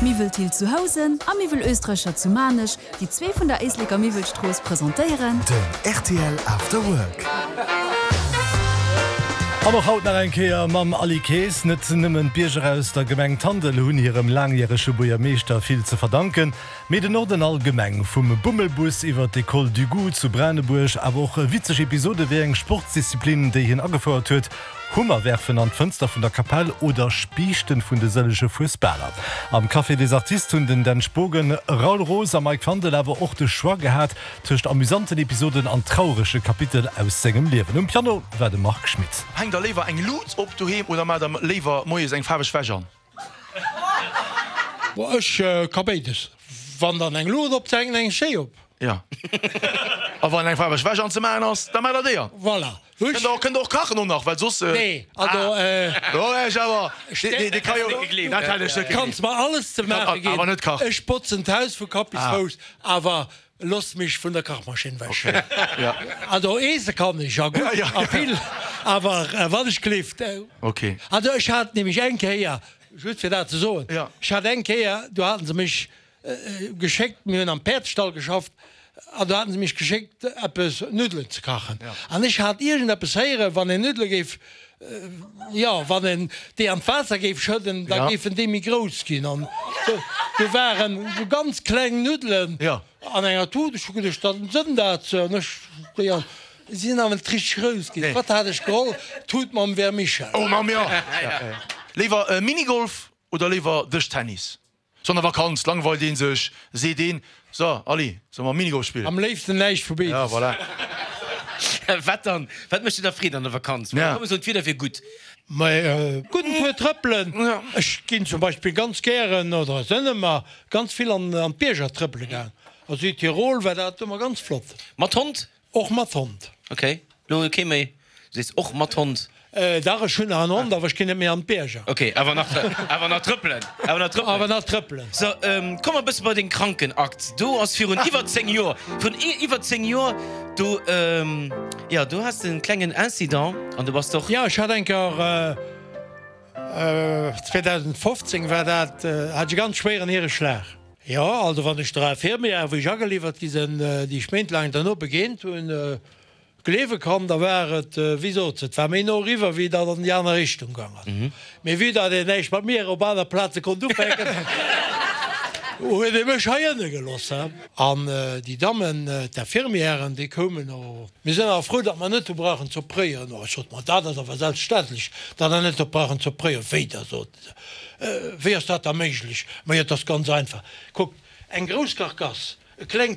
Miwwel Thill zu Housen a Miwwel Österreicher zu Maarnech, déi zwee vun der Éisleker Miwwelstrooss, presentéieren. Den rtl After Work. An och haut nach eng Kéier mam Aly Kaes. Net nëmmen d'Bierger aus der Gemeng Tandel hunn hirem laangjärege Buergermeeschter vill ze verdanken, mee den Norden allgemeng. Vum Bummelbus iwwer d'Ecole du Goût zu Branebuerg, awer och witzeg Episode wéi eng Sportsdisziplin, déi hien agefouert huet, Hummer werfen an d'Fënster vun der Kapell oder Spiichten vun de sëllege Fuesbaler. Am Café des Artistes hunn den Dan Spogen, Raoul Roos a Mike Fandel awer och de Choix gehat tëscht amüsanten Episoden an traurege Kapitel aus sengem Liewen. Um Piano war de Marc Schmitt. Hänkt der léiwer eng Luut op doheem oder maacht der léiwer moies eng faarweg Wäsch an? Bon, ech ka béides. Wann dann eng Luucht op, hänken eng schéi op. Jo. A wann eng faarweg Wäsch anzemaachen ass, da maacht der déi an. Voilà. Kënnt der, kënnt der och kachen och nach, well soss. Nee, also. Do wär ech awer, dee, dee ka jo, dat hätt ech net gegleeft. Kanns mer alles ze maache ginn. Awer net kachen. Ech botzen d'Haus vu Kapp bis Fouss, awer looss mech vun der Kachmaschinn wech. Jo. Also eese kann ech, a gutt a vill, awer wann ech gleeft. Ok. Also ech hat nämlech eng Kéier, just fir dat ze soen, ech hat eng Kéier, do haten se mech geschéckt, mir hunn am Päerdsstall geschafft, an do haten se mech geschéckt eppes Nuddelen ze kachen. An ech hat iergendeppes héieren, wann een Nuddele géif, jo, wann een déi an d'Waasser géif schëdden, da géifen déi méi grouss ginn. An do waren esou ganz kleng Nuddelen an enger Tut. Ech hu geduecht, da sënn dat se. An ech déi an, si sinn awer net richteg grouss ginn. Wat hat ech geholl? D'Tut mam Vermichel. Oh Mamm, jo! Léiwer Minigolf oder léiwer Dëschtennis? Sou an der Vakanz langweilt een sech, seet een, So, Aly, solle mer Minigolf spillen? Am léifsten näischt vu béides. Ja, voilà. Wat dann? Wat mécht dir da Freed an der Vakanz? Ja. Komm, soen, d'Wieder wier gutt. Mä gudden Tour trëppelen. Ech ginn zum Beispill ganz gären, oder sënn ëmmer ganz vill an d'Bierger trëppele gaang. A Südtirol war dat ëmmer ganz flott. Mat Hond? Och mat Hond. Ok, lo kee méi. Du sees och mat Hond. Dach, ech hunn nach en Hond, awer ech ginn net méi an d'Bierger. Ok, awer nach, awer nach trëppelen, awer nach trëppelen. Awer nach trëppelen. So, komm mer e bësse bei deng Krankenakt. Do ass virun iwwer 10 Joer, virun iwwer 10 Joer, do, jo, do has de en klengen Incident an du bass doch. Jo, ech hat eng Kéier, 2015 war dat, hat ech e ganz schwéieren Hiereschlag. Jo, also wann ech der Infirmière, wou ech ageliwwert gi sinn, déi ech méintlaang derno begéint hunn, gleewe kann, da war et, wéi sot se, et war méi no eriwwer, wéi datt an déi aner Richtung gaang ass. Mee vue datt een näischt mat mir op aner Plaze konnt ufänken, huet ee mech hei ënne gelooss. An déi Dammen, d'Infirmièren, déi koumen, oh, mir sinn awer frou, datt mer net hu brauchen z'opréieren. Oh, ech sot, ma dat ass awer selbstverständlech, datt der net hutt brauchen z'opréieren. Wéi da, sot Wéi ass dat da méiglech? Majo, et ass ganz einfach. Kuckt, eng grouss Karkass, e klengt.